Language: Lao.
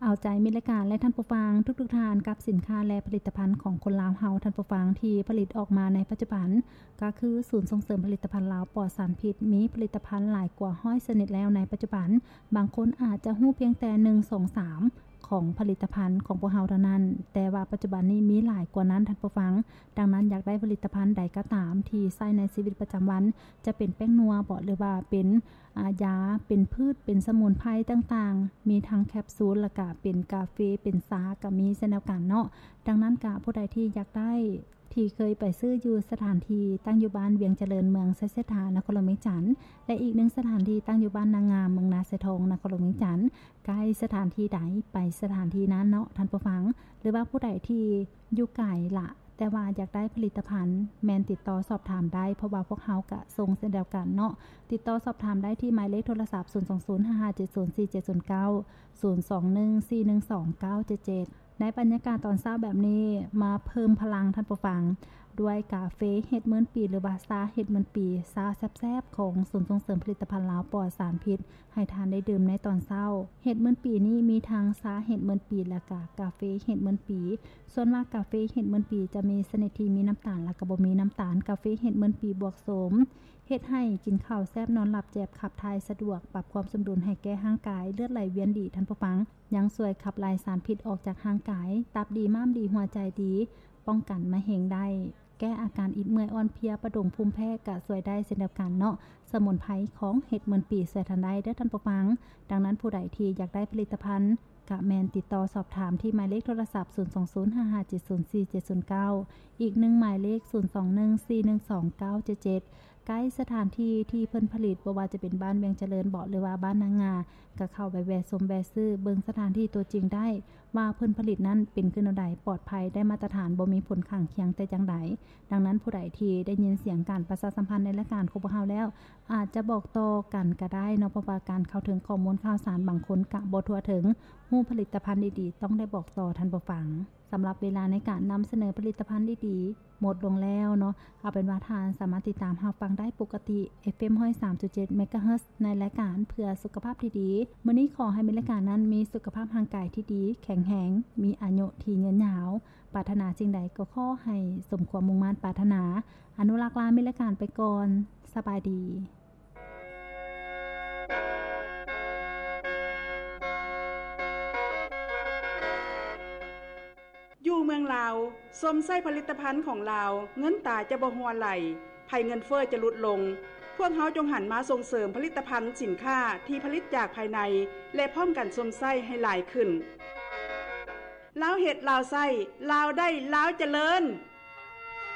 ເອົາໃຈມິດລາຍການ ແລະ ທ່ານຜູ້ຟັງທຸກໆທ່ານ ກັບສິນຄ້າ ແລະ ຜະລິດຕະພັນຂອງຄົນລາວເຮົາ ທ່ານຜູ້ຟັງ ທີ່ຜະລິດອອກມາໃນປັດຈຸບັນ ກໍຄືສູນສົ່ງເສີມຜະລິດຕະພັນລາວປອດສານພິດ ມີຜະລິດຕະພັນຫຼາຍກວ່າຮ້ອຍຊະນິດແລ້ວໃນປັດຈຸບັນ. ບາງຄົນອາດຈະຮູ້ພຽງແຕ່ໜຶ່ງ ສອງ ສາມ ຂອງຜະລິດຕະພັນຂອງພວກເຮົາເທົ່ານັ້ນ, ແຕ່ວ່າປັດຈຸບັນນີ້ມີຫຼາຍກວ່ານັ້ນ ທ່ານຜູ້ຟັງ. ດັ່ງນັ້ນ ຢາກໄດ້ຜະລິດຕະພັນໃດກໍຕາມທີ່ໃຊ້ໃນຊີວິດປະຈຳວັນ, ຈະເປັນແປ້ງນົວບໍ ຫຼືວ່າເປັນ ອາ ຢາ ເປັນພືດ ເປັນສະໝຸນໄພຕ່າງໆ, ມີທັງແຄບຊູລ ແລ້ວກະເປັນກາເຟ ເປັນຊາ ກະມີເຊັ່ນດຽວກັນເນາະ. ດັ່ງນັ້ນກະຜູ້ໃດທີ່ຢາກໄດ້ ທີ່ເຄີຍໄປຊື້ຢູ່ສະຖານທີ່ຕັ້ງຢູ່ບ້ານວຽງຈະເລີນ ເມືອງໄຊເສດຖາ ນະຄອນຫຼວງວຽງຈັນ ແລະ ອີກໜຶ່ງສະຖານທີ່ຕັ້ງຢູ່ບ້ານນາງາມ ເມືອງນາຊາຍທອງ ນະຄອນຫຼວງວຽງຈັນ. ໃກ້ສະຖານທີ່ໃດໄປສະຖານທີ່ນັ້ນເນາະ ທ່ານຜູ້ຟັງ. ຫຼືວ່າຜູ້ໃດທີ່ຢູ່ໄກລະ ແຕ່ວ່າຢາກໄດ້ຜະລິດຕະພັນ ແມ່ນຕິດຕໍ່ສອບຖາມໄດ້ ເພາະວ່າພວກເຮົາກະສົ່ງເຊັ່ນດຽວກັນເນາະ. ຕິດຕໍ່ສອບຖາມໄດ້ທີ່ໝາຍເລກໂທລະສັບ ສູນສອງສູນ ຫ້າຫ້າເຈັດສູນ ສີ່ເຈັດສູນເກົ້າ ສູນສອງໜຶ່ງ ສີ່ໜຶ່ງສອງ ເກົ້າເຈັດເຈັດ. ໃນບັນຍາກາດຕອນເຊົ້າແບບນີ້ ມາເພີ່ມພະລັງທ່ານຜູ້ຟັງ ດ້ວຍກາເຟເຫັດໝື່ນປີ ຫຼືວ່າຊາເຫັດໝື່ນປີ ຊາແຊບໆຂອງສູນສົ່ງເສີມຜະລິດຕະພັນລາວປອດສານພິດ ໃຫ້ທ່ານໄດ້ດື່ມໃນຕອນເຊົ້າ. ເຫັດໝື່ນປີນີ້ມີທັງຊາເຫັດໝື່ນປີ ແລະກະກາເຟເຫັດໝື່ນປີ. ສ່ວນວ່າກາເຟເຫັດໝື່ນປີຈະມີຊະນິດທີ່ມີນ້ຳຕານ ແລະກະບໍ່ມີນ້ຳຕານ. ກາເຟເຫັດໝື່ນປີບວກໂສມ ເຮັດໃຫ້ກິນເຂົ້າແຊບ ນອນຫຼັບແຈບ ຂັບຖ່າຍສະດວກ ປັບຄວາມສົມດຸນໃຫ້ແກ່ຮ່າງກາຍ ເລືອດໄຫຼວຽນດີ ທ່ານຜູ້ຟັງ. ຍັງຊ່ວຍຂັບໄລ່ສານພິດອອກຈາກຮ່າງກາຍ, ຕັບດີ, ມ້າມດີ, ຫົວໃຈດີ, ປ້ອງກັນມະເຮັງໄດ້, ແກ້ອາການອິດເມື່ອຍອ່ອນເພຍ, ປະດົງພູມແພ້ກະຊ່ວຍໄດ້ເຊັ່ນດຽວກັນເນາະ. ສະໝຸນໄພຂອງເຫັດໝື່ນປີຊ່ວຍທ່ານໄດ້ເດີທ່ານຜູ້ຟັງ. ດັ່ງນັ້ນຜູ້ໃດທີ່ຢາກໄດ້ຜະລິດຕະພັນ ກະແມ່ນຕິດຕໍ່ສອບຖາມທີ່ໝາຍເລກໂທລະສັບ ສູນສອງສູນ ຫ້າຫ້າເຈັດສູນ ສີ່ເຈັດສູນເກົ້າ ອີກໜຶ່ງໝາຍເລກ ສູນສອງໜຶ່ງ ສີ່ໜຶ່ງສອງ ເກົ້າເຈັດເຈັດ. ໃກ້ສະຖານທີ່ທີ່ເພິ່ນຜະລິດ ບໍ່ວ່າຈະເປັນບ້ານວຽງຈະເລີນເບາະ ຫຼືວ່າບ້ານນາງາ ກະເຂົ້າໄປແວ່ຊົມແວ່ຊື້ ເບິ່ງສະຖານທີ່ຕົວຈິງໄດ້ ວ່າເພິ່ນຜະລິດນັ້ນເປັນຄືແນວໃດ, ປອດໄພ, ໄດ້ມາດຕະຖານ, ບໍ່ມີຜົນຂ້າງຄຽງແຕ່ຢ່າງໃດ. ດັ່ງນັ້ນຜູ້ໃດທີ່ໄດ້ຍິນສຽງການປະຊາສຳພັນໃນລາຍການຂອງພວກເຮົາແລ້ວ ອາດຈະບອກຕໍ່ກັນກະໄດ້ເນາະ, ເພາະວ່າການເຂົ້າເຖິງຂໍ້ມູນຂ່າວສານບາງຄົນກະບໍ່ທົ່ວເຖິງ. ຮູ້ຜະລິດຕະພັນດີໆ ຕ້ອງໄດ້ບອກຕໍ່ທ່ານຜູ້ຟັງ. ສຳລັບເວລາໃນການນຳສະເໜີຜະລິດຕະພັນດີໆ ໝົດລົງແລ້ວເນາະ. ເອົາເປັນວ່າທ່ານສາມາດຕິດຕາມຮັບຟັງໄດ້ປົກກະຕິ ເອັຟເອັມ ຮ້ອຍສາມຈຸດເຈັດ ເມກາເຮີດ ໃນລາຍການເພື່ອສຸຂະພາບທີ່ດີ. ມື້ນີ້ຂໍໃຫ້ມີລາຍການນັ້ນມີສຸຂະພາບຮ່າງກາຍທີ່ດີ, ແຂງແຮງ, ມີອາຍຸທີ່ຍືນຍາວ. ປາດຖະໜາສິ່ງໃດກໍຂໍໃຫ້ສົມຄວາມມຸ່ງມາດປາດຖະໜາ. ອະນຸລັກລາມີລາຍການໄປກ່ອນ. ສະບາຍດີ. ຢູ່ເມືອງລາວ ຊົມໃຊ້ຜະລິດຕະພັນຂອງລາວ, ເງິນຕາຈະບໍ່ຮົ່ວໄຫຼ, ໄພເງິນເຟີ້ຈະຫຼຸດລົງ. ພວກເຮົາຈົ່ງຫັນມາສົ່ງເສີມຜະລິດຕະພັນສິນຄ້າທີ່ຜະລິດຈາກພາຍໃນ ແລະ ພ້ອມກັນຊົມໃຊ້ໃຫ້ຫຼາຍຂຶ້ນ. ລາວເຮັດ, ລາວໃຊ້, ລາວໄດ້, ລາວຈະເລີນ.